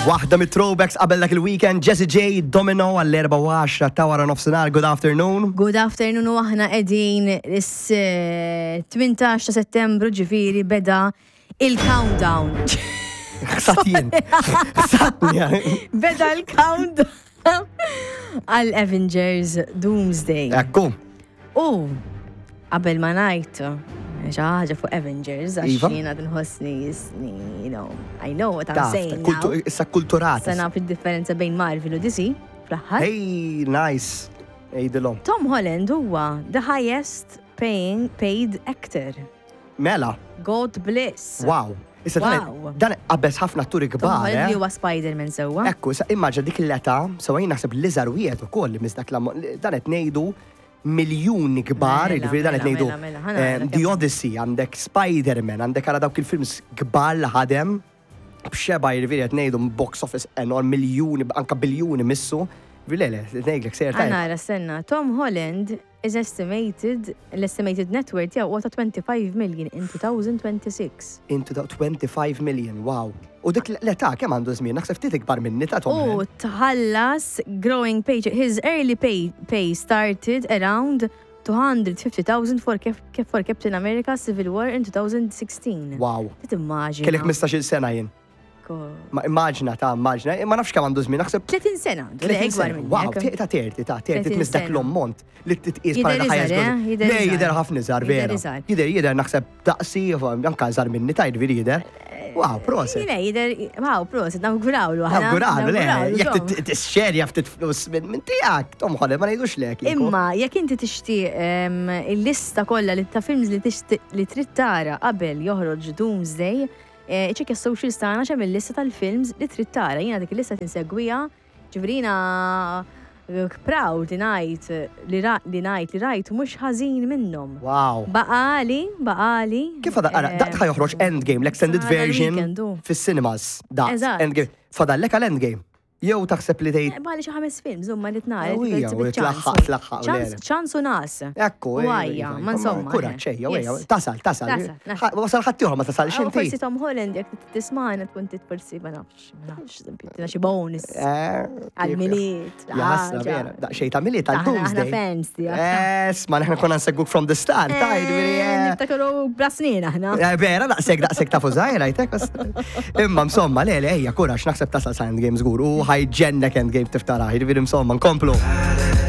Waħda mit-throwbacks qabel dak il-weekend, Jesse J, Domino għall-4 ta' wara nofsinhar. Good afternoon. Good afternoon u aħna qegħdin is-18 ta' Settembru ġifieri beda il-countdown. Ħsat jien. Ħsatni. Beda l-countdown għal Avengers Doomsday. Ekku. U qabel ma ngħid xi ħaġa fuq Avengers għax Iva. jiena nħossni jisni, you know, I know what I'm Taf, saying kultu- now. issa kulturata. Sa naf id-differenza bejn Marvel u DC fl-aħħar. Hey, nice. Ejdilhom. Tom Holland huwa the highest paying paid actor. Mela, God bless. wow. Issa dan- Wow. dan qabeż ħafna atturi Tom kbar, Holland li eh? huwa Spider-Man sewwa. Ekku, issa immaġina dik l-età, sewa jien naħseb l-iżgħar wieħed ukoll li misdak l dan qed ngħidu miljuni kbar, Mela, jiġifieri dan qed mela, ngħidu mela, mela, ħa nara eh, kemm- The Odyssey, għandek Spider-Man, għandek ara dawk il-films kbar li ħadem, b'xeba jiġifieri qed ngħidu box office enorm, miljuni, anka biljuni missu. Ġifieri Le, le, ngħidlek sejjer tajjeb. Għanara senna, Tom Holland is estimated, l-estimated net worth tiegħu huwa ta' 25 million in 2026. Into the 25 million, wow. U dik l-età kemm għandu żmien, naħseb ftit ikbar minni ta' Tom U Holland. tħallas growing paycheck. His early pay, pay started around 250,000 for, Cap- for Captain America Civil War in 2016. Wow. Timmaġina. Kellek 15-il sena jien. Ko- Ma immaġina ta' immaġina, ma nafx kemm għandu żmien, naħseb 30 sena, għandu, le, 30 ikbar sena. Wow, minnek. ta' 30, ta' 30 30 tmiss dak sena. l-ammont li titqis Jidher bħala ħajja iżgħar, eh? żgur. Jidher Le, iżgħar. jidher ħafna iżgħar, Jidher vera. iżgħar. Jidher, jidher naħseb daqsi, anka iżgħar minni ta' jiġifieri jidher. Wow, proset. Le, jidher, wow, proset, nawgurawlu. aħna, Nawguralu, le, nawgurawlu, jekk Tom. tixxerja ftit flus minn minn tiegħek, Tom Holland, ma ngħidux lek. kieku. Imma jekk inti tixtieq em, il-lista kollha li ta' films li tixtieq li trid tara qabel joħroġ Doomsday, eh, iċċekkja s-socials tagħna x'hemm il-lista tal-films li trid tara. Jiena dik il-lista tinsegwiha, ġifieri jiena eh, proud li ngħid li ra- li ngħid li rajt mhux ħażin minnhom. Wow. Baqali, baqali. Kif għada, ara, daqt ħa joħroġ Endgame, l-extended Sa version dal-weekend, u. fis-cinemas. Daqt, Eżatt. Endgame. Fadallek għal Endgame. Jew taħseb li tgħid Eh, Baqali xi ħames films, huma li tnara. Ewwija, u tlaħħaq, tlaħħaq, u le, le. Ċans u nas. Ekku, U għajja, ma insomma. Kuraġġ, ejja, ejja, Yes. tasal, tasal. Tasal, nasal. Ħa- Wasal ħaddieħor ma tasal Aw, xinti. Forsi Tom Holland, jek tismana tkun tit forsi ma nafx, ma nafx, tina xi bonus Eh, għal-miliet. Jasna, vera. Daqxej ta' miliet għal Aħna aħna Doomsday. fans tiegħek. Es, ma neħna konna nsegwuk from the start, ta' jiġifieri, eh. Niftakru bla snin aħna. Eh, Vera, daqsek, daqsek ta' fużajra, jtek. Imma, insomma, le, le, ejja, kuraġġ, naħseb tasal sa' Endgame żgur. U ħajġennek Endgame tiftara, jiġifieri, insomma, nkomplu.